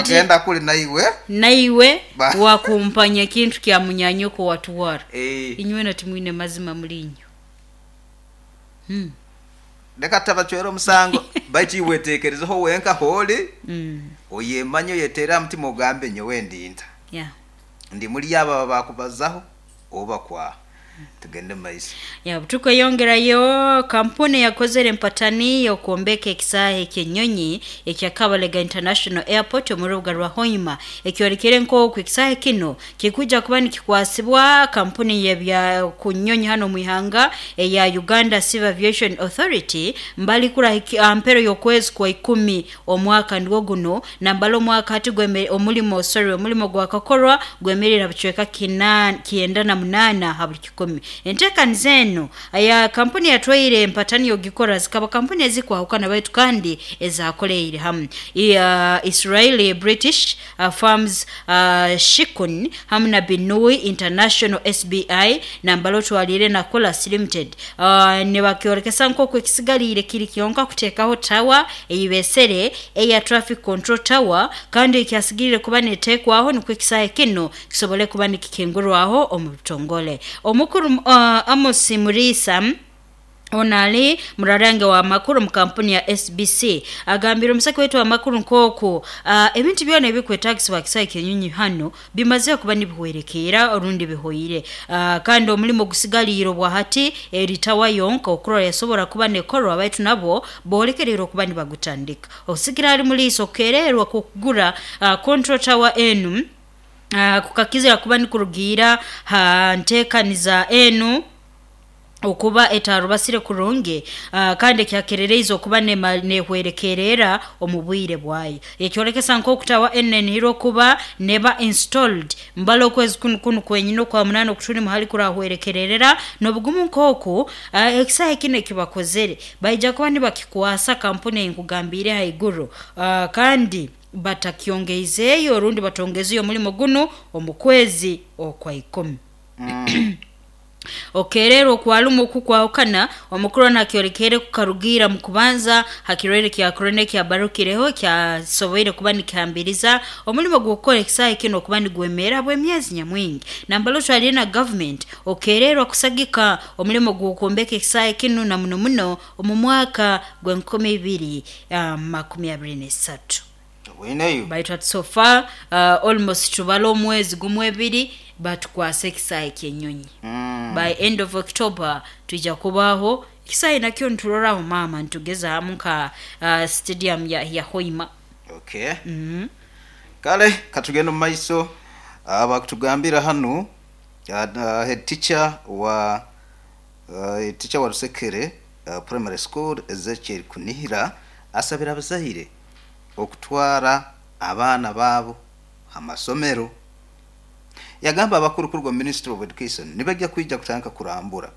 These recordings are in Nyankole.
Hati Bagenda kuri naiwe. naiwe Ba- wakumpanya ekintu kya munyanyoko watwara. Eh. Inywena timwine mazima muli inywe. Hmm. Leka tutabacwera omusango, baitu iwe weteekerezeho wenka h'ori, Mm. oyemanye oyeteere aha mutima ogambe nyowe ndi nta. Yeah. Ndi muri abo abakubazaho oba kwaha. Tugende mu maiso. Ya, tukweyongerayo kampuni yakozere empatani y'okwombeka ekisaahe eky'enyonyi ekya Kabalega International Airport omu rubuga rwa Hoima ekyorekere nk'oku ekisaahe kinu kikuja kuba nikikwasibwa kampuni y'ebya ku nyonyi hano omu ihanga eya Uganda Civil Aviation Authority mbali kurahiki mpero y'okwezi kwa ikumi omwaka nigwo guno nambala omwaka hati gweme omulimo sorry omulimo gwakakorwa gwemerera bucweka kina 98 ha buli kikumi. Enteekaniza enu aya kampuni yatwaire empatani yogikora zikaba kampuni ezikwahukana baitu kandi ezakoleire hamu ya Israeli British Farms Shikun hamu na Binui International SBI nambala otwaliire na Colas Limited nibakyorekesa nk'oku ekisigaliire kiri kyonka kuteekaho tawa eyibesere eya traffic control tower kandi ekyasigiriire kuba neteekwaho nikwo ekisaahe kinu kisobole kuba nikikingurwaho omu butongole. Omukuru Amos Muriisa ono ali murarange wa makuru mu kampuni ya SBC agambire omusaki waitu w'amakuru nk'oku ebintu byona ebikwetagisibwa kisaahe ky'enyonyi hanu bimaze kuba nibihwerekeera orundi bihoire kandi omulimo ogusigaliire obwa hati eri tawa yonka okurora yasobora kuba nekorwa baitu nabwo boolekereire okuba nibagutandika. Okusigira ali Muriisa okukererwa kw'okugura control tower enu kukakizira kuba nikurugiira ha nteekaniza enu okuba etarubasire kurungi kandi ekyakerereize okuba nehwerekerera omu bwire bwayo. Ekyolekesa nk'oku tawa enu nenihirwa okuba neba installed mbali okwezi kunu kunu kwenyini okwa munaana okutulimu hali kurahwerekererera n'obugumu nk'oku ekisaahe kinu ekibakozere baija kuba nibakikwasa kampuni eyinkugambiire haiguru kandi batakyongeizeeyo rundi batongezeyo omulimo gunu omu kwezi okwa ikumi. Okererwa okwalumu oku kwahukana, omukuru onu akyorekeire kukarugiira mu kubanza ha kirwaire kya Corona ekyabarukireho ekyasoboire kuba nikihambiriza omulimo gw'okukora ekisaahe kinu okuba nigwemeera habw'emyezi nyamwingi. Nambala otwaliire na gavumenti okererwa kusagika omulimo gw'okwombeka ekisaahe kinu na muno muno omu mwaka gw'enkumi ibiri 23. Obweineyo. Baitu hati so far almost tubale omwezi gumu ebiri batukwase ekisaahe ky'enyonyi. By end of October twija kubaaho ekisaahe nakyo nituroraho maama nitugezaamu nka stadium ya Hoima. Okay. Kale katugende omu maiso. Bakutugambira hanu head teacher wa Head teacher wa Rusekere Primary School Ezekiel Kunihira asabire abazaire okutwara abaana baabo ha masomero. Yagamba abakuru kuruga omu Ministry of Education nibaija kwija kutandika kurambura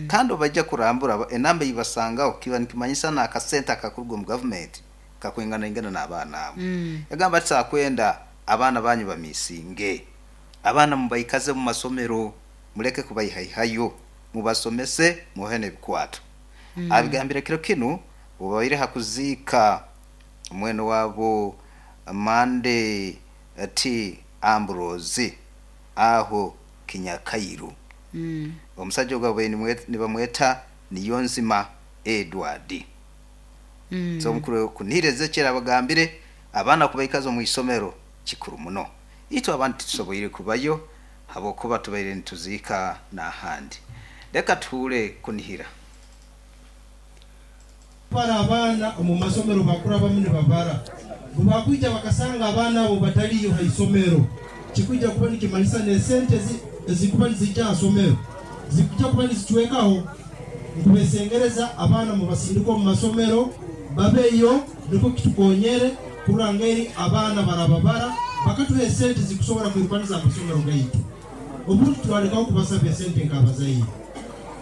kandi obu baija kurambura enamba ei basangaho kiba nikimanyisa n'akasente akakuruga omu gavumenti kakwinganaingana n'abaana abo. Yagamba ati Titwakwenda abaana banyu bamisinge, abaana mubaikaze omu masomero muleke kubaihaihayo, mubasomese mubahe n'ebikwato. Abigambire kiro kinu obu babaire ha kuziika mwene waabo Monday T. Ambrose aho Kinyakairu. Omusaija ogu ababaire nibamweta Niyonzima Edward. So omukuru Kunihira Ezekiel abagambire abaana kubaikaza omu isomero kikuru muno. Itwe abandi titusoboire kubayo habwokuba tubaire nituziika n'ahandi. Leka tuhuure Kunihira. Kubara abaana omu masomero bakurabamu nibabara. Bwebakwija bakasanga abaana abo bataliyo ha isomero, kikwija kuba nikimanyisa n'esente ezikuba nizija ha somero zikwija kuba nizicwekaho. Nkubesengereza abaana mubasindike omu masomero babeyo nikwo kitukonyere kurora ngeri abaana barababara bakatuha esente ezikusobora kwirukaniza amasomero gaitu. Obundi turalekaho kubasaba esente nk'abazaire.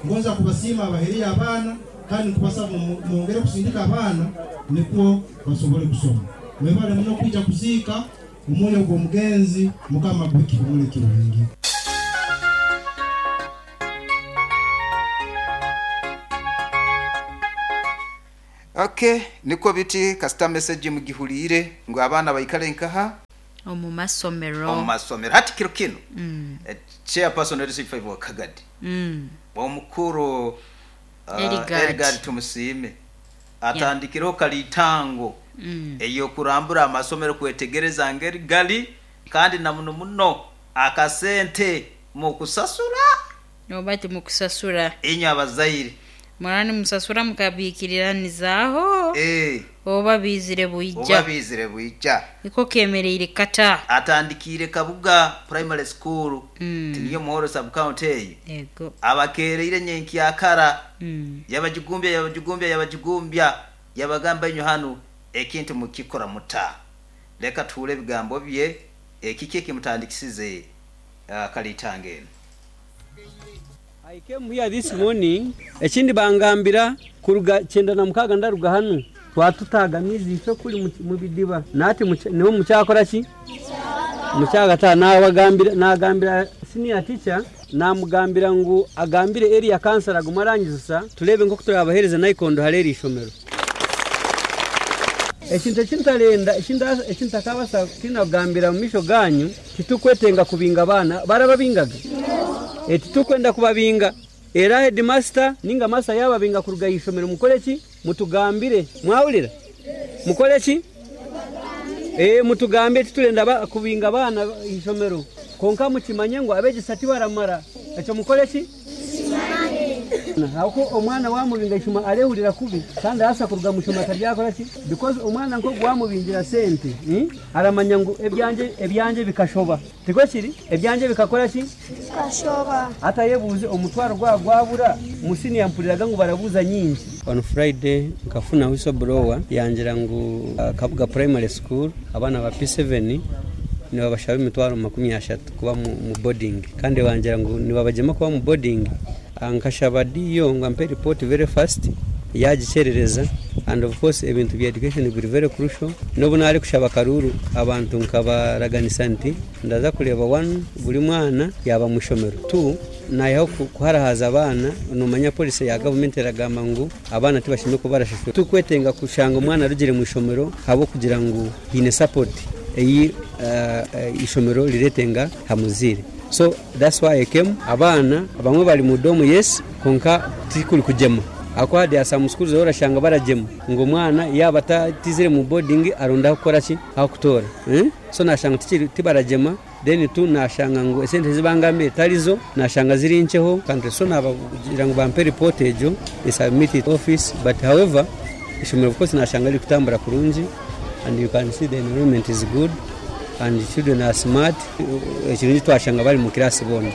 Ngonza kubasiima abaheriyo abaana kandi nkubasaba mwongere kusindika abaana nikwo basobole kusoma. Mwebale muno kwija kuziika omwoyo gw'omugenzi Mukama aguhe ekihumuro ekirungi. Ok nikwo biti kasita message mugihuriire ngu abaana baikare nkaha? Omu masomero. Omu masomero. Hati kiro kinu, Chairperson wa LC5 wa Kagadi, omukuru Eligard Tumusiime atandikireho karitango ey'okurambura amasomero kwetegereza ngeri gari kandi na muno muno akasente mukusasura. Oba timukusasura. Inywe abazaire. Muraba nimusasura mukabiikiriranizaho oba biizire bwija. Oba biizire bwija. Niko kemereire kata. Atandikiire Kabuga Primary School, tiniyo Muhorro Sub-County eyo. Yego. Abakeereire nyenkyakara, yabagigumbya, yabagigumbya, yabagigumbya, yabagamba inywe hanu ekintu mukikora muta? Leka tuhuure ebigambo bye, ekiki ekimutandikisize karitango enu. I came here this morning, ekindi bangambira kuruga 96 ndaruga hanu twatutaaga amaizi itwe kuri mu bidiba nahati niho mukyakora ki? Mukyagataha. Nabagambira nagambira senior teacher namugambira ngu agambire area councillor agume arangizisa tureebe nk'oku turabaheereza naikondo hari eri ishomero. Ekintu eki ntarenda eki ntakabaasa kutiina kugambira omu maisho gaanyu, titurikwetenga kubinga abaana. Barababingaga? Titurikwenda kubabinga. Era hedimasita nainga maasita yaababinga kuruga aha ishomero mukore ki? Mutugambire. Mwahurira? Mukore ki? Mutugambire. Titurenda kubinga abaana aha ishomero. Kwonka mukimanye ngu abeegyesa tibaramara. Ekyo mukore ki? Ahabw'okuba omwana waamubinga ishoma areehurira kubi kandi arabaasa kuruga omu ishomero ataryakora ki? Because omwana nk'ogu waamubingira sente aramanya ngu ebyangye ebyangye bikashoba. Tikwo kiri? Ebyangye bikakora ki? Bikashoba. Hati ayebuuze omutwaro gwaba gwabura, omu siniya mpuriraga ngu barabuuza nyingi. On Friday nkafuna whistle blower yangira ngu Kabuga Primary School abaana ba P7 nibabashaba emitwaro 30 kuba mu boarding kandi bangira ngu nibabagyema kuba mu boarding. Nkashaba DO ngu ampe report very fast yagikyerereza and of course ebintu bya education biri very crucial. N'obu narikushaba akaruuru abantu nkabaraganisa nti ndaza kureeba one buri mwana yaaba omu ishomero, two Naihaho kuharahaza abaana, nomanya policy ya gavumenti eragamba ngu abaana tibashemereire kuba barashashura. Titurikwetenga kushanga omwana arugire omu ishomero ahabw'okugira ngu haine support ei eishomero riretenga aha muzaire. So that's why I came. Abaana abamwe bari mu dorm yes, kwonka tikuri kugyema ahakuba there are some schools ahu orashanga baragyema ngu omwana yaaba atizire mu boarding aronde ah'okukora ki? Ah'okutoora. So nashanga tibaragyema. Then tu nashanga ngu esente ezi bangambire tarizo, nashanga ziri nkyeho kandi so nabagira ngu bampe report egyo they submit it office but however ishomero of course nashanga riri kutambura kurungi and you can see the enrollment is good and children are smart ekirungi twashanga bari mu class boona.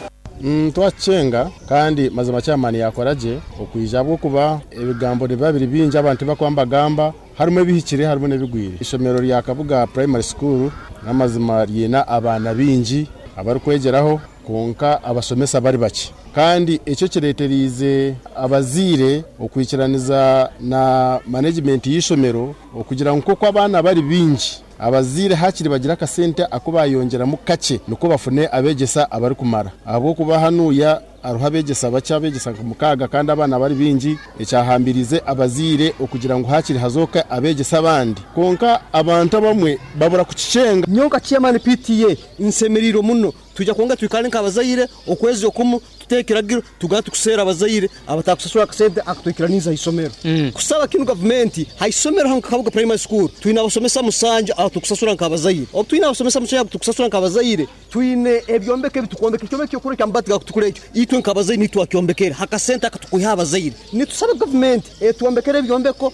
Twakukyenga kandi mazima chairman yakora gye okwija ahabw'okuba ebigambo nibiba biri bingi abantu tibakuba nibagamba Harimu ebihikire harimu n'ebigwire. Eishomero rya Kabuga Primary School n'amazima ryine abaana baingi abarikwegyeraho kwonka abashomesa bari bakye. Kandi ekyo kireetereize abazaire okwikiraniza na manegimenti y'eishomero okugira ngu nk'oku abaana bari baingi, abazaire haakiri bagire akasente aku baayongyeramu kakye nikwo bafune abeegyesa abarikumara ahabw'okuba hanuuya Hariho abeegyesa bakye, abeegyesa nka mukaaga kandi abaana bari baingi, ekyahambiriize abazaire okugira ngu haakiri hazooke abeegyesa abandi. Kwonka abantu abamwe babura kukikyenga. Nyowe nka chairman PTA nsemereirwe muno. Twija kwonka twikare nk'abazaire okwezi okumu tuteho ekiragiro tugare tukuseera abazaire abatakusasura akasente akutwikiraniize aha isomero. Kusaba kinu gavumenti, ha isomero hanu nka Kabuga Primary School twine abasomesa musanju abatukusasura nk'abazaire. Obu twine abasomesa musanju abutukusasura nk'abazaire, Twine ebyombeko ebi tukwombeka, ekyombeko ky'okurora eky'amabaati gakutukura ekyo itwe nk'abazaire nitwe twakyombekere ha kasente aka tukwiha abazaire. Nitusaba gavumenti etwombekere ebyombeko.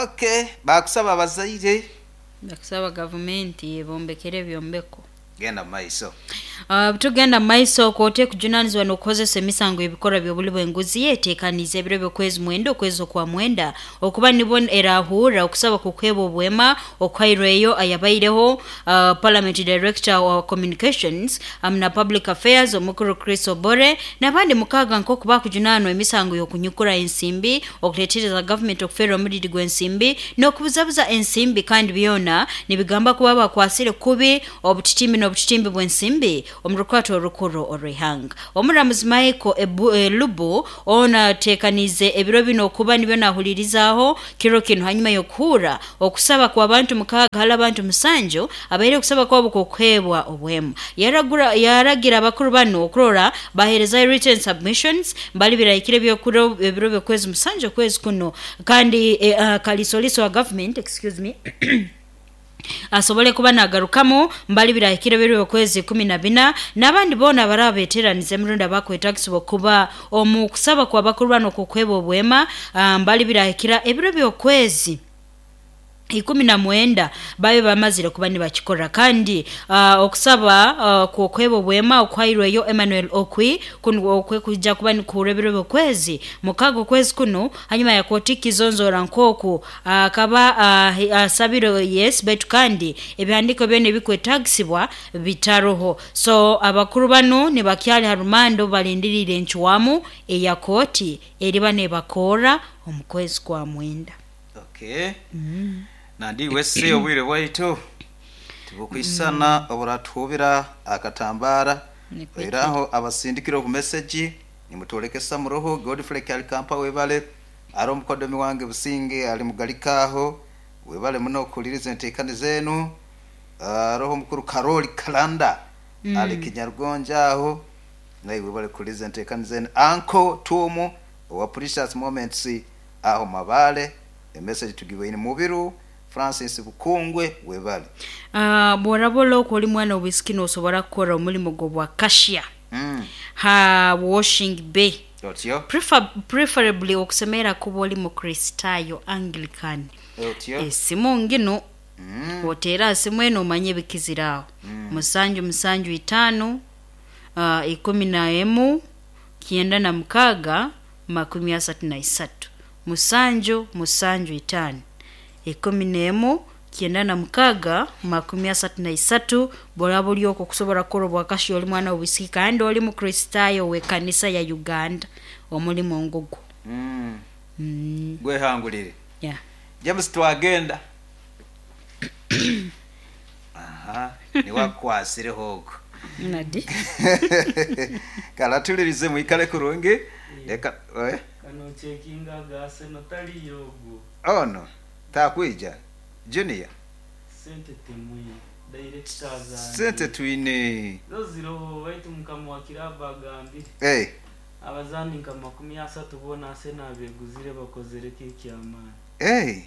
Ok, baakusaba abazaire. Bakusaba gavumenti ebombekere ebyombeko. Genda mu maiso. Tugenda mu maiso, Kooti ekujunanizibwa n'okuhozesa emisango y'ebikorwa by'obuli bw'enguzi etekaniize ebiro by'okwezi mwenda okwezi okwa mwenda okuba nibwo erahurra okusaba kw'okuheebwa obwema okuhairweyo ayabaireho Parliament Director wa Communications hamu na Public Affairs Omukuru Chris Obore n'abandi mukaaga nk'oku bakujunaanwa emisango y'okunyukura ensimbi, okuleetereza gavumenti okufeerwa omuriri gw'ensimbi n'okubuzabuza ensimbi kandi byona nibigamba kuba bakwasire kubi obutitiimi. n'obukitimbi bw'ensimbi omu rukwato orukuru orw'ihanga. Omuramuzi Michael Elubu ono ateekaniize ebiro binu okuba nibyo naahuliirizaaho kiro kinu hanyuma y'okuhuura okusaba kw'abantu 6 hali abantu 7 abaire okusaba kwabo kw'okuheebwa obwemu. Yaragira abakuru banu okurora baheerezayo written submissions mbali birahikire ebiro by'okwezi 7 okwezi kuno kandi kaliisoliiso wa government, excuse me, asobole kuba nagarukamu mbali birahikire ebiro by'okwezi 14 n'abandi boona abaraba beteranize emirundi abakwetagisibwa okuba omu kusaba kw'abakuru banu okw'okuheebwa obwema mbali birahikira ebiro by'okwezi 19 babe bamazire kuba nibakikora. Kandi okusaba kw'okuheebwa obwema okuhairweyo Emmanuel Okwi kunu okwe kwija kuba nikuhurwa ebiro by'okwezi 6 okwezi kunu hanyuma ya kooti kizonzoora nk'oku akaba asabire yes baitu kandi ebihandiiko byona ebikwetagisibwa bitaroho. So abakuru banu nibakyali ha rumande obu balindiriire encwamu eya kooti eriba nebakorra omu kwezi kwa 9. Okay. Nandi iwe se obwire bwaitu tibukwisana oburatuhubira akatambaara. Nikwo Era aho abasindikire obumesegi nimutwolekesa muroho. Godfrey Kyalikampa webale, ari omukodomi wange Businge ali Mugalika aho, webale muno okuhuliriza enteekaniza enu. Aroho omukuru Karoli Kalanda ali Kinyarugonja aho, naiwe webale kuhuliriza enteekaniza enu. Uncle Tuumu owa Precious Moments aho Mabale, emessage tugiboine. Mubiru Francis Bukungwe webale. Bworaba olokwo oli mwana w'obwisiki nosobora kukora omulimo gw'obwa cashier ha washing bay. Otyo. Preferably okusemerera kuba oli Mukristaayo Anglican. Otyo. Esimu nginu oteere aha simu enu omanye ebikizire aho. 7 7 5 11 96 33. 7 7 5 11 96 33. Bworaba ori okwo okusobora kukora obwakashiya oli mwana w'obwisiki kandi oli Mukristaayo w'ekanisa ya Uganda, omulimo ngugwo. Gwehangulire. Yeah. James twagenda. Aha, niwe akukwasireho ogwo. Nadi. Kale atulirize mwikale kurungi. Leka eh? Kano ocekinga aga Arsenal tariyo ogwo. Ono takwija Junior. Sente timwine. Director azangire. Sente twine. Zo ziroho baitu mukama wa kiraabu agambire. Eh. Abazaani nka 30 boona Arsenal abeguzire bakozire ki eky'amaani. Eh.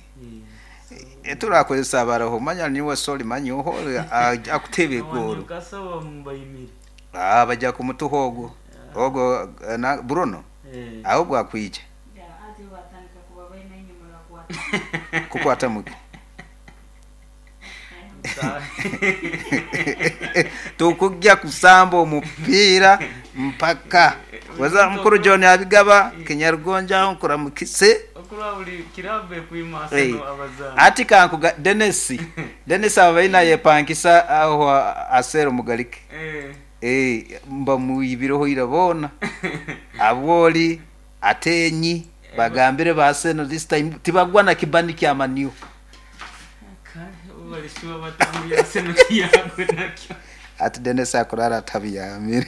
Turakozesa abaroho manya niwe soli manya oho akutebe Owa egoro. Newcastle bamubayimire. Ah, bajja kumutuha ogwo. Ogwo na Bruno. Ahobwo akwija. Kukwata muki. Tukujja kusamba omupiira mpaka. Waza mukuru John abigaba Kinyarugonja nkuramukise. Okuraba buri kiraabu ekwima Arsenal abazaani. Ati kankuga Dennis. Dennis abaina yepankisa aho asero mugalike. Mba muibireho ira bona. Abwoli atenyi bagambire ba Arsenal this time tibagwa na kibani kya maniu. Balishuba batambuye Arsenal tiyagwe nakyo. Ati Dennis akurara atabiyamire.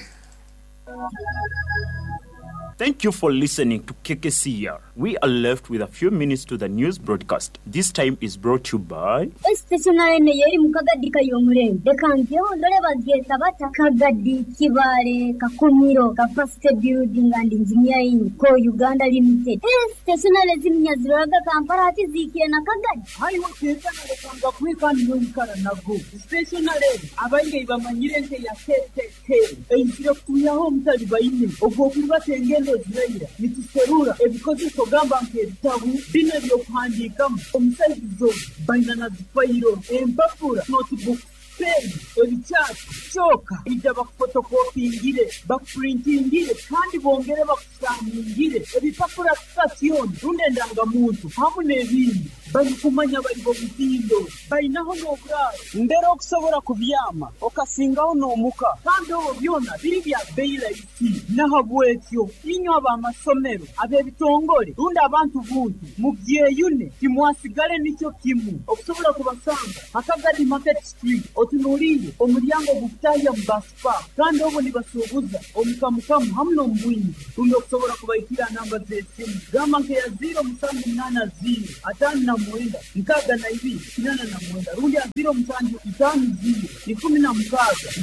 Thank you for listening to KKCR. We are left with a few minutes to the news broadcast. This time is brought to you by Stationary eno yeri mu kagadi kayomurembe reka ngeho ndore bagyeta bata Kagadi Kibale Kakumiro Capacity Building and Engineering Co Uganda Limited. Stationary ziminya ziroraga Kampala hati ziikire na Kagadi. Haiwe kwekana kwekana noikara nago stationary abaingi bamanyire nte ya KKK eizire kutuyaho omutali baine ogwo okurubatengendo ziraira nituserura ebikozeso gamba nk'ebitabu bino ebyokuhandiikamu omusaizi baina na zifayiro empapura notebook pen ebikyapa kyoka ija bakufotokopingire bakupurintingire kandi bongere bakusaningire ebipapura kasiyoni rundi endangamuntu hamu n'ebindi. Barikumanya bari b'omutindo, bainaho n'oburaaro mbere okusobora kubyama okasingaho n'omuka kandi obwo byona biri bya beyi raisi. Nahabwekyo inywe ab'amasomero, ab'ebitongore rundi abantu buntu mubyeyune timwasigale nikyo kimu okusobora kubasanga ha Kagadi Market Street otunuliire omulyango ogukutahya mu Bus Park kandi obwo nibasuubuza omu kamukamu hamu n'omu bwingi rundi okusobora kubaikira aha namba z'esimu gamba nk'eya ziiro musanju munaana ziiro ataano na mwenda 62 89 rundi aha ziiro musanju itaano ziiro 16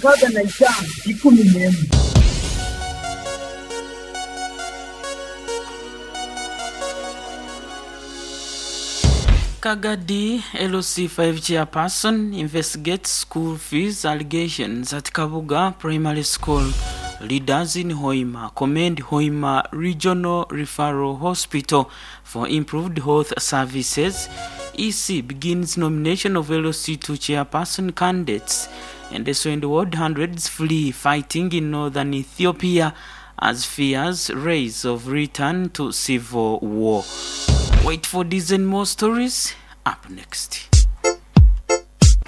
65 11. Kagadi LC5 chairperson investigates school fees allegations at Kabuga Primary School. Leaders in Hoima commend Hoima Regional Referral Hospital for improved health services. EC begins nomination of LC2 chairperson candidates. And so in the world, hundreds flee fighting in northern Ethiopia as fears raise of return to civil war. Wait for these and more stories up next.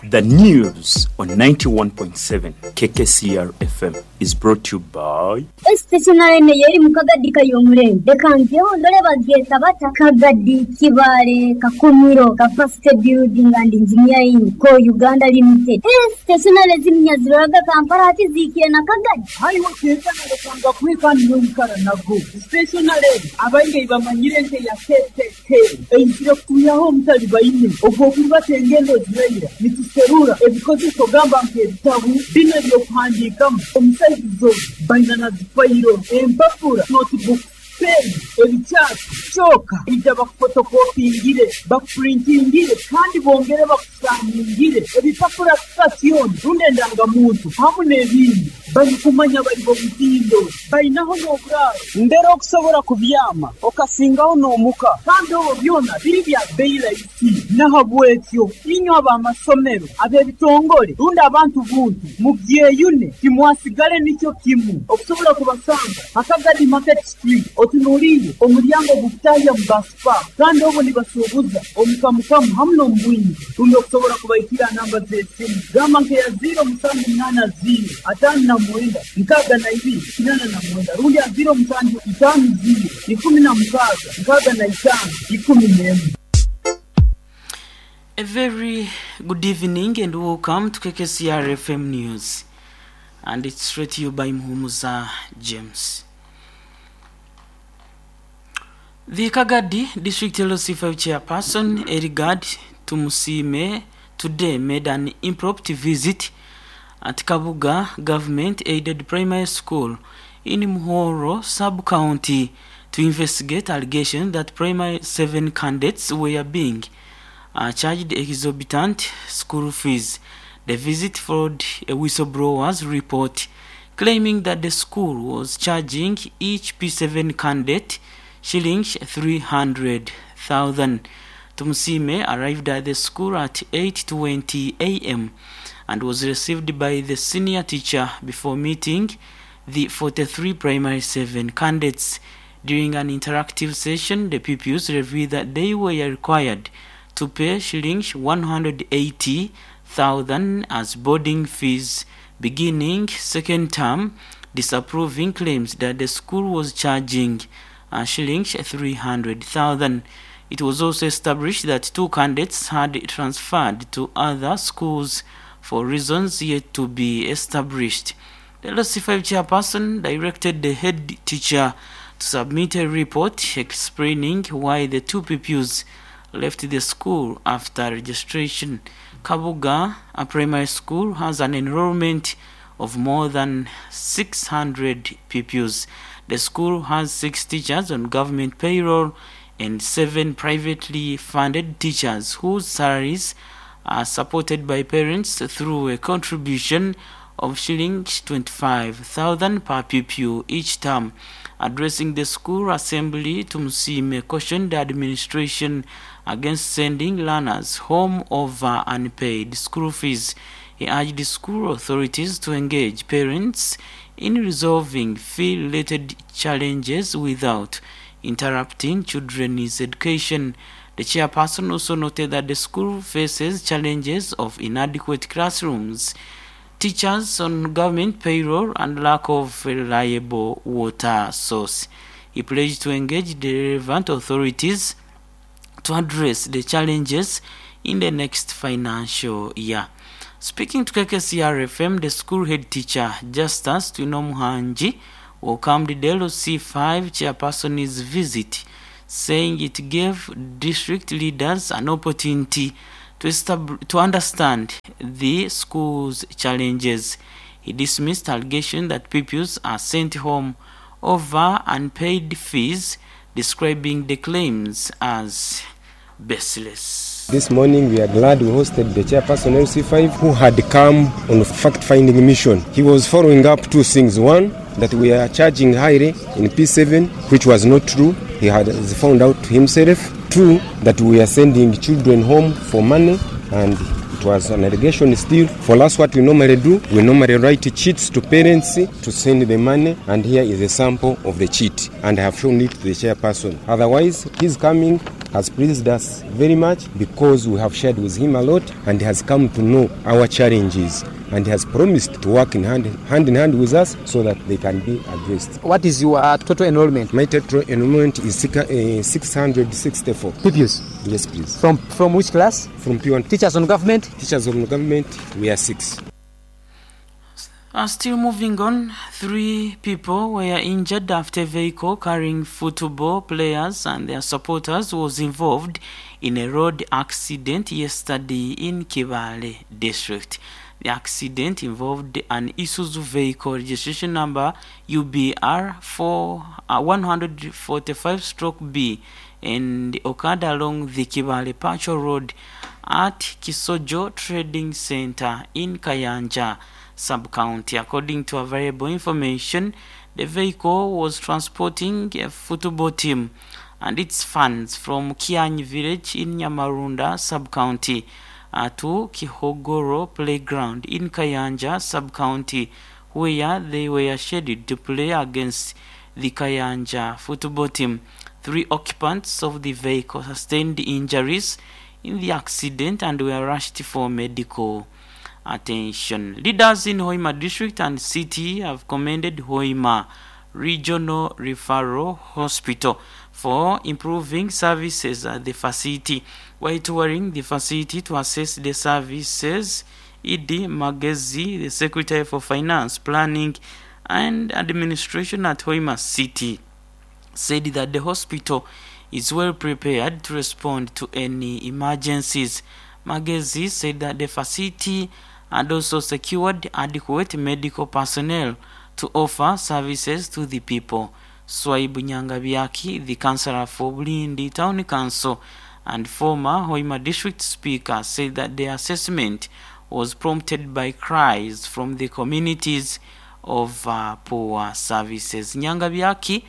The news on 91.7 KKCR FM is brought to you by Stationery eno y'eri mu Kagadi Kayomurembe. Leka njeho ndole bagyeta bata Kagadi, Kibaale, Kakumiro, Capacity Building and Engineering Co. Uganda Limited. Eeh stationery eziminya ziroraga Kampala hati zihikire na Kagadi? Haiwe kenkana lekanga kweka niwe oikara nago. Stationery egi abaingi ei bamanyire nk'eya KKK eizire kutwihaho omutalibaine ogw'okurubata engendo eziraira nituserura ebikozeso gamba nk'ebitabu binu eby'okuhandiikamu omu saizi zoona baina na zifairo, empapura, notebooks, peeni, ebikyati, kyoka ija bakufotokopingire, bakupurintingire kandi bongere bakusikaningire ebipapura kika kyona rundi endangamuntu hamu n'ebindi. Barikumanya bari b'omutindo, bainaho n'oburaaro mbere okusobora kubyama okasingaho n'omuka kandi obwo byona biri bya beyi raisi. Nahabwekyo inywe ab'amasomero, ab'ebitongore rundi abantu buntu mubyeyune timwasigale nikyo kimu okusobora kubasanga ha Kagadi Market Street otunuliire omulyango ogukutahya mu Bus Park kandi obwo nibasuubuza omu kamukamu hamu n'omu bwingi rundi okusobora kubaikira aha namba z'esimu gamba nk'eya ziiro musanju munaana ziiro ataano na mwenda 62 89 rundi aha ziiro musanju itaano ziiro 16 65 11. A very good evening and welcome to KKCR FM News. And it's read to you by Muhumuza James. The Kagadi District LC5 chairperson, Erigard Tumusiime, today made an impromptu visit at Kabuga Government Aided Primary School in Muhoro sub-county to investigate allegations that primary 7 candidates were being charged exorbitant school fees. The visit followed a whistleblower's report claiming that the school was charging each P7 candidate shillings 300,000. Tumusiime arrived at the school at 8:20 a.m. and was received by the senior teacher before meeting the 43 primary 7 candidates. During an interactive session, the pupils revealed that they were required to pay shillings 180,000 as boarding fees beginning second term, disapproving claims that the school was charging shillings 300,000. It was also established that two candidates had transferred to other schools for reasons yet to be established. The LC5 chairperson directed the head teacher to submit a report explaining why the two pupils left the school after registration. Kabuga, a primary school, has an enrollment of more than 600 pupils. The school has 6 teachers on government payroll and 7 privately funded teachers whose salaries are supported by parents through a contribution of shillings 25,000 per pupil each term. Addressing the school assembly, Tumusiime cautioned the administration against sending learners home over unpaid school fees. He urged the school authorities to engage parents in resolving fee-related challenges without interrupting children's education. The chairperson also noted that the school faces challenges of inadequate classrooms, teachers on government payroll and lack of reliable water source. He pledged to engage the relevant authorities to address the challenges in the next financial year. Speaking to KKCR FM, the school head teacher Justus Twinomuhangi welcomed the LC5 chairperson's visit, saying it gave district leaders an opportunity to, to understand the school's challenges. He dismissed allegations that pupils are sent home over unpaid fees, describing the claims as baseless. This morning we are glad we hosted the chairperson LC5 who had come on a fact-finding mission. He was following up two things. One, that we are charging highly in P7, which was not true. He had found out himself. Two, that we are sending children home for money, and it was an allegation still. For us, what we normally do, we normally write cheats to parents to send the money, and here is a sample of the cheat, and I have shown it to the chairperson. Otherwise, his coming has pleased us very much because we have shared with him a lot, and he has come to know our challenges, and he has promised to work in hand, hand in hand with us so that they can be addressed. What is your total enrollment? My total enrollment is 664. Pupils? Yes, please. From, from which class? From P1. Teachers on government? Teachers on government, we are six. Still moving on, three people were injured after a vehicle carrying football players and their supporters was involved in a road accident yesterday in Kibale district. The accident involved an Isuzu vehicle registration number UBR 4, 145 stroke B and occurred along the Kibale Pacho Road at Kisojo Trading Center in Kayanja sub-county. According to available information, the vehicle was transporting a football team and its fans from Kianyi village in Nyamarunda sub-county to Kihogoro playground in Kayanja sub-county, where they were scheduled to play against the Kayanja football team. Three occupants of the vehicle sustained injuries in the accident and were rushed for medical attention. Leaders in Hoima district and city have commended Hoima Regional Referral Hospital for improving services at the facility. While touring the facility to assess the services, Ed Magezi, the Secretary for Finance, Planning and Administration at Hoima City, said that the hospital is well prepared to respond to any emergencies. Magezi said that the facility had also secured adequate medical personnel to offer services to the people. Swaibu Nyangabyaki, the councillor for Bulindi Town Council and former Hoima District Speaker, said that the assessment was prompted by cries from the communities of poor services. Nyangabyaki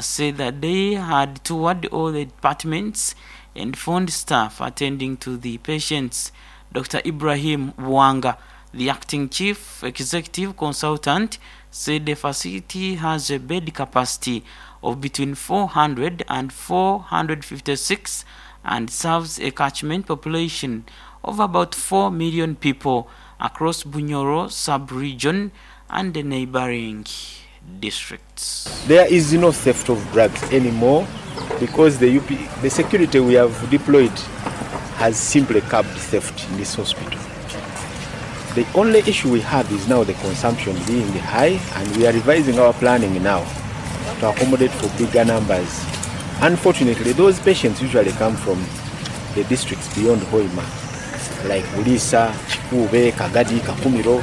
said that they had toured all the departments and found staff attending to the patients. Dr. Ibrahim Wanga, the acting chief executive consultant, said the facility has a bed capacity of between 400 and 456 and serves a catchment population of about 4 million people across Bunyoro sub-region and the neighboring districts. There is no theft of drugs anymore because the UP, the security we have deployed has simply curbed theft in this hospital. The only issue we have is now the consumption being high, and we are revising our planning now to accommodate for bigger numbers. Unfortunately, those patients usually come from the districts beyond Hoima, like Bulisa, Chikube, Kagadi, Kakumiro,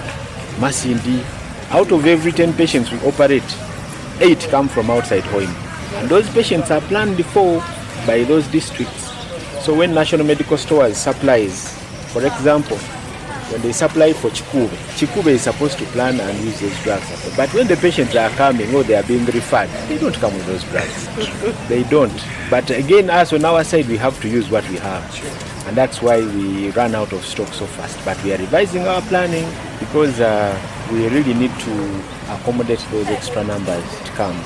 Masindi. Out of every 10 patients we operate, 8 come from outside Hoima. And those patients are planned for by those districts. So when National Medical Stores supplies, for example, when they supply for Chikube, Chikube is supposed to plan and use those drugs. But when the patients are coming or they are being referred, they don't come with those drugs. They don't. But again, us on our side, we have to use what we have. And that's why we run out of stock so fast. But we are revising our planning because we really need to accommodate those extra numbers to come.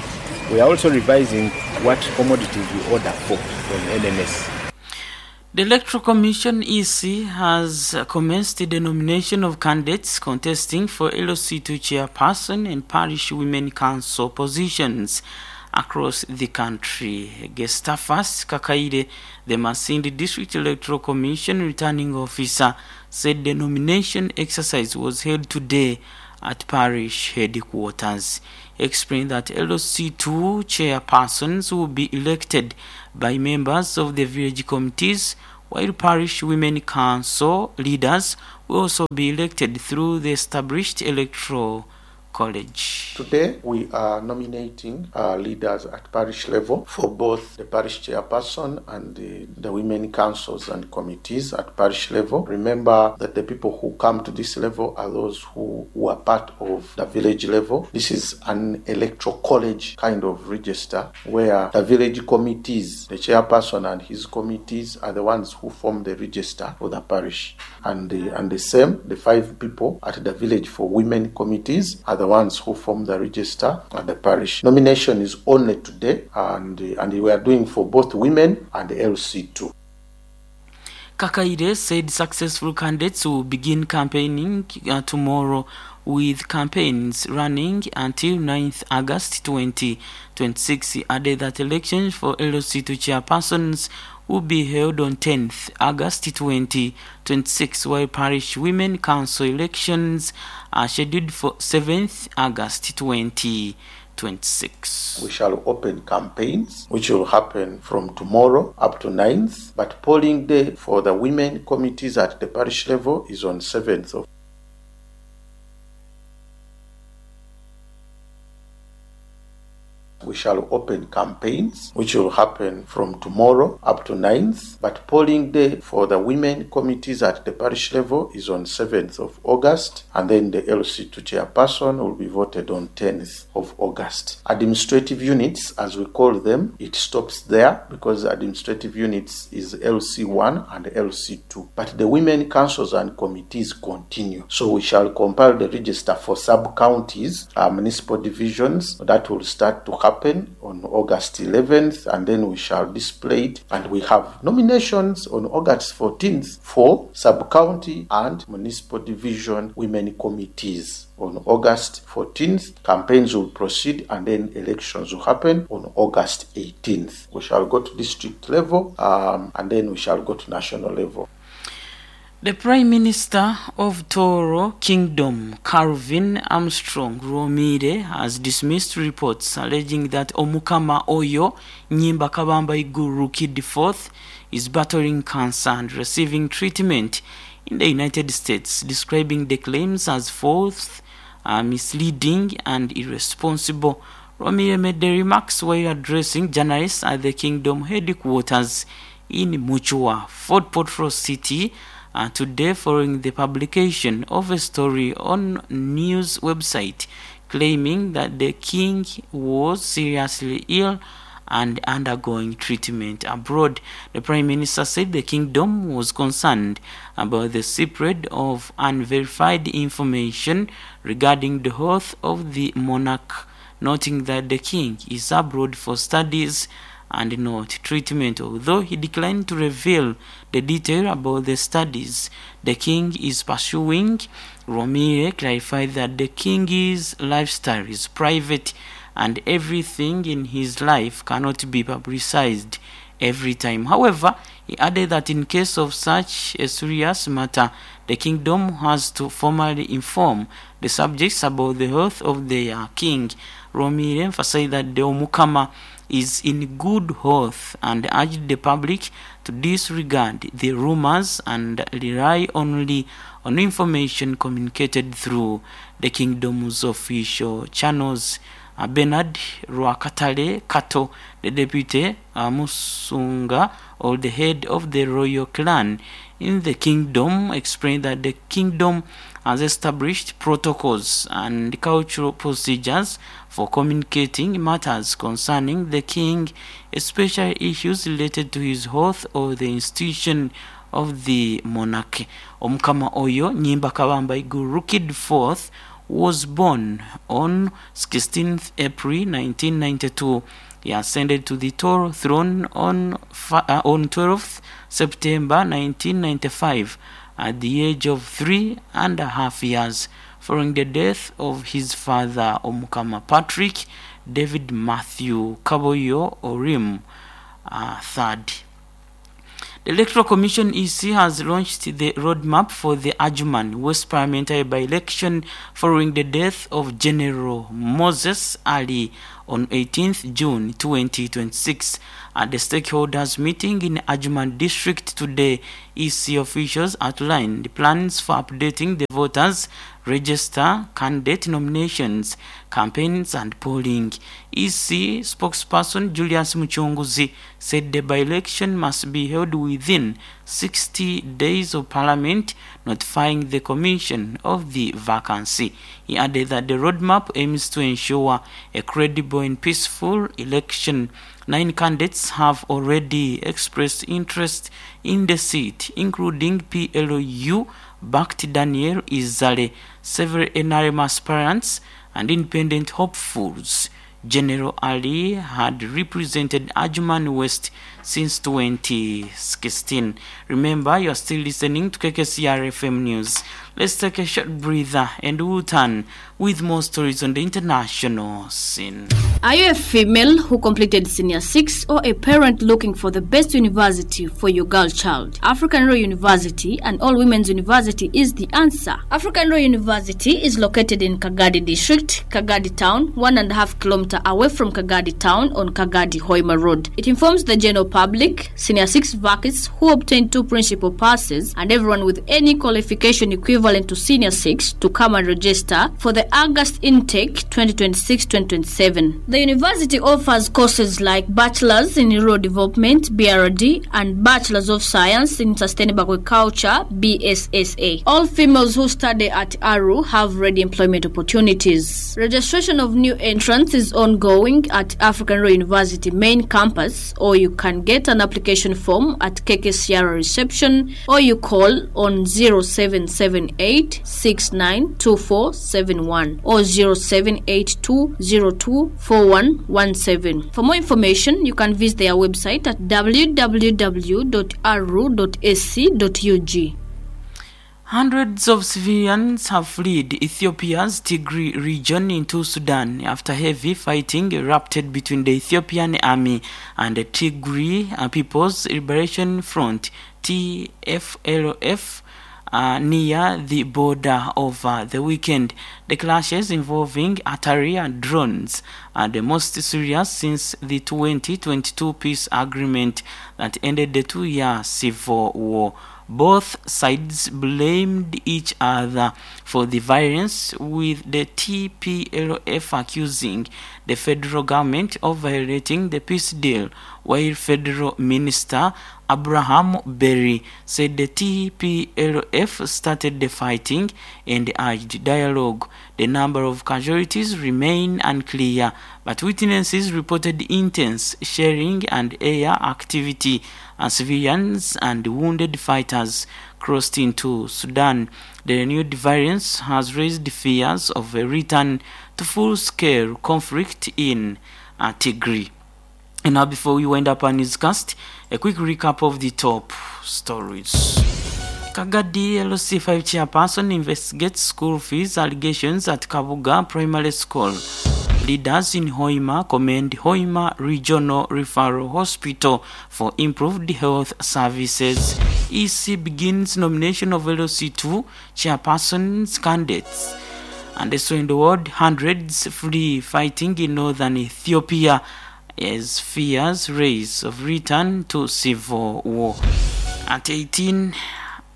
We are also revising what commodities we order for from NMS. The Electoral Commission EC has commenced the nomination of candidates contesting for LC2 chairperson and parish women council positions across the country. Gestafas Kakaire, the Masindi District Electoral Commission returning officer, said the nomination exercise was held today at parish headquarters. He explained that LC2 chairpersons will be elected by members of the village committees, while parish women council leaders will also be elected through the established electoral college. Today we are nominating leaders at parish level for both the parish chairperson and the, the women councils and committees at parish level. Remember that the people who come to this level are those who, who are part of the village level. This is an electoral college kind of register where the village committees, the chairperson and his committees are the ones who form the register for the parish. And the, and the same, the five people at the village for women committees are the ones who form the register at the parish. Nomination is only today, and, and we are doing for both women and LC2. Kakaire said successful candidates will begin campaigning tomorrow with campaigns running until 9th August 2026. He added that elections for LC2 chairpersons will be held on 10th August 2026, while parish women council elections are scheduled for 7th August 2026. We shall open campaigns, which will happen from tomorrow up to 9th. But polling day for the women committees at the parish level is on 7th of We shall open campaigns, which will happen from tomorrow up to 9th. But polling day for the women committees at the parish level is on 7th of August, and then the LC2 chairperson will be voted on 10th of August. Administrative units, as we call them, it stops there because administrative units is LC1 and LC2. But the women councils and committees continue. So we shall compile the register for sub-counties, municipal divisions. That will start to happen on August 11th, and then we shall display it. And we have nominations on August 14th for sub-county and municipal division women committees. On August 14th, campaigns will proceed, and then elections will happen on August 18th. We shall go to district level, and then we shall go to national level. The Prime Minister of Toro Kingdom, Calvin Armstrong Rwomire, has dismissed reports alleging that Omukama Oyo Nyimba Kabamba Iguru Rukidi IV is battling cancer and receiving treatment in the United States, describing the claims as false, misleading and irresponsible. Rwomire made the remarks while addressing journalists at the kingdom headquarters in Muchua, Fort Portal City, today following the publication of a story on news website claiming that the king was seriously ill and undergoing treatment abroad. The Prime Minister said the kingdom was concerned about the spread of unverified information regarding the health of the monarch, noting that the king is abroad for studies and not treatment. Although he declined to reveal the detail about the studies the king is pursuing, Rwomire clarified that the king's lifestyle is private and everything in his life cannot be publicized every time. However, he added that in case of such a serious matter, the kingdom has to formally inform the subjects about the health of their king. Rwomire emphasized that the Omukama is in good health and urged the public to disregard the rumors and rely only on information communicated through the kingdom's official channels. Bernard Rwakatare Kato, the deputy Musunga, or the head of the royal clan in the kingdom, explained that the kingdom has established protocols and cultural procedures for communicating matters concerning the king, especially issues related to his health or the institution of the monarchy. Omukama Oyo Nyimba Kabamba Iguru Rukidi IV was born on 16th April 1992. He ascended to the tall throne on, on 12th September 1995 at the age of three and a half years following the death of his father Omukama Patrick David Matthew Kaboyo Orim third. The Electoral Commission EC has launched the roadmap for the Adjumani West Parliamentary by-election following the death of General Moses Ali on 18th June 2026. At the stakeholders meeting in Adjumani District today, EC officials outlined plans for updating the voters register, candidate nominations, campaigns and polling. EC spokesperson Julius Muchunguzi said the by-election must be held within 60 days of Parliament notifying the Commission of the vacancy. He added that the roadmap aims to ensure a credible and peaceful election. Nine candidates have already expressed interest in the seat, including PLU backed Daniel Izale, several NRM aspirants and independent hopefuls. General Ali had represented Adjumani West since 2016. Remember, you are still listening to KKCR FM News. Let's take a short breather and we'll turn with more stories on the international scene. Are you a female who completed senior 6 or a parent looking for the best university for your girl child? African Royal University and All Women's University is the answer. African Royal University is located in Kagadi District, Kagadi Town, 1.5 kilometer away from Kagadi Town on Kagadi Hoima Road. It informs the general public, senior 6 vacancies who obtained two principal passes, and everyone with any qualification equivalent to senior 6 to come and register for the August intake 2026-2027. The university offers courses like Bachelor's in Rural Development BRD and Bachelor's of Science in Sustainable Agriculture BSSA. All females who study at ARU have ready employment opportunities. Registration of new entrants is ongoing at African Royal University main campus, or you can get an application form at KKCR reception, or you call on 0778 692471 or 0782024117. For more information, you can visit their website at www.aru.ac.ug. Hundreds of civilians have fled Ethiopia's Tigray region into Sudan after heavy fighting erupted between the Ethiopian army and the Tigray People's Liberation Front TFLF near the border over the weekend. The clashes involving artillery and drones are the most serious since the 2022 peace agreement that ended the two-year civil war. Both sides blamed each other for the violence, with the TPLF accusing the federal government of violating the peace deal, while Federal Minister Abraham Berry said the TPLF started the fighting and urged dialogue. The number of casualties remain unclear, but witnesses reported intense shelling and air activity as civilians and wounded fighters crossed into Sudan. The renewed violence has raised fears of a return to full-scale conflict in Tigray. And now before we wind up our newscast, a quick recap of the top stories. Kagadi LC5 chairperson investigates school fees allegations at Kabuga Primary School. Leaders in Hoima commend Hoima Regional Referral Hospital for improved health services. EC begins nomination of LC2 chairpersons candidates. And also in the world, hundreds flee fighting in northern Ethiopia as fears raise of return to civil war. At 18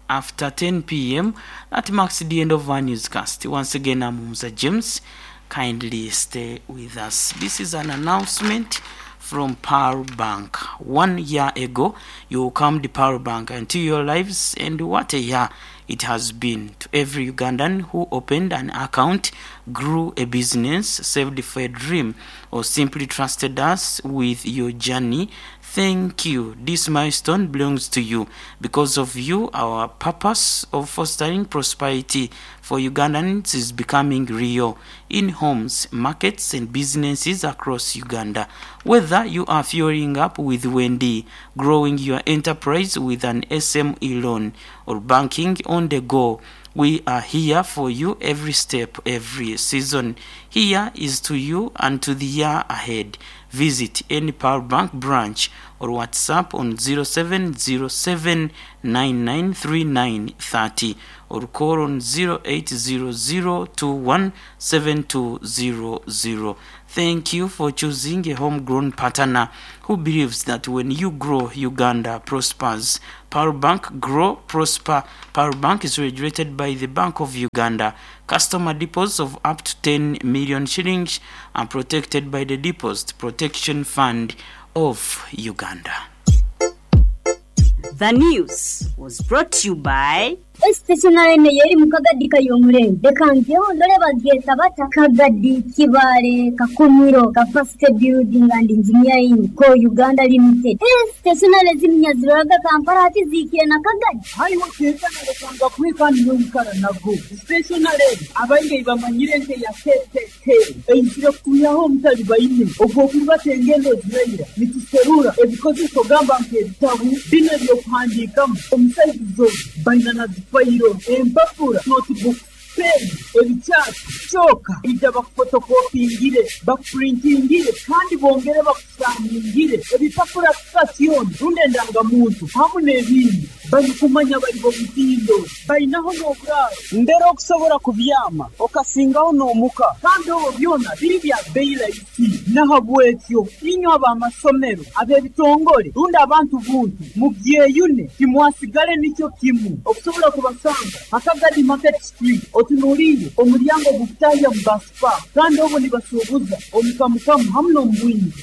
after 10 p.m., that marks the end of our newscast. Once again, I'm Musa James. Kindly stay with us. This is an announcement from Pearl Bank. 1 year ago, you welcomed Pearl Bank into your lives, and what a year it has been to every Ugandan who opened an account, grew a business, saved for a dream, or simply trusted us with your journey. Thank you. This milestone belongs to you. Because of you, our purpose of fostering prosperity for Ugandans is becoming real in homes, markets, and businesses across Uganda. Whether you are fueling up with Wendy, growing your enterprise with an SME loan, or banking on the go, we are here for you every step, every season. Here is to you and to the year ahead. Visit any Power Bank branch or WhatsApp on 0707 993930 or call on 0800217200. Thank you for choosing a homegrown partner who believes that when you grow, Uganda prospers. Power Bank Grow Prosper. Power Bank is regulated by the Bank of Uganda. Customer deposits of up to 10 million shillings are protected by the Deposit Protection Fund of Uganda. The news was brought to you by. Stationery eno y'eri mu Kagadi Kayomurembe. Leka njeho ndore bagyeta bata Kagadi, Kibaale, Kakumiro, Capacity Building and Engineering Co. Uganda Limited. Stationery eziminya ziroraga Kampala hati zihikire na Kagadi. Haiwe kenkana lekanga kuhika niiwe oikara nago. Stationery egi abaingi ei bamanyire nk'eya KKK eizire kutwihaho omutalibaine ogw'okurubata engendo eziraira nituserura ebikozeso gamba nk'ebitabu binu eby'okuhandiikamu omu saizi zoona baina na zifayiro, empapura, notebooks, peeni, ebikyati, kyoka ija bakufotokopingire, bakupurintingire kandi bongere bakusikaningire ebipapura kika kyona rundi endangamuntu hamu n'ebindi. Barikumanya bari b'omutindo, bainaho n'oburaaro mbere okusobora kubyama okasingaho n'omuka kandi obwo byona biri bya bbeyi raisi. Nahabwekyo inywe ab'amasomero, ab'ebitongore rundi abantu buntu mubyeyune timwasigale nikyo kimu. Okusobora kubasanga ha Kagadi Market Street otunuliire omuryango ogukutahya omu Bus Park kandi obwo nibasuubuza omu kamukamu hamu n'omu bwingi.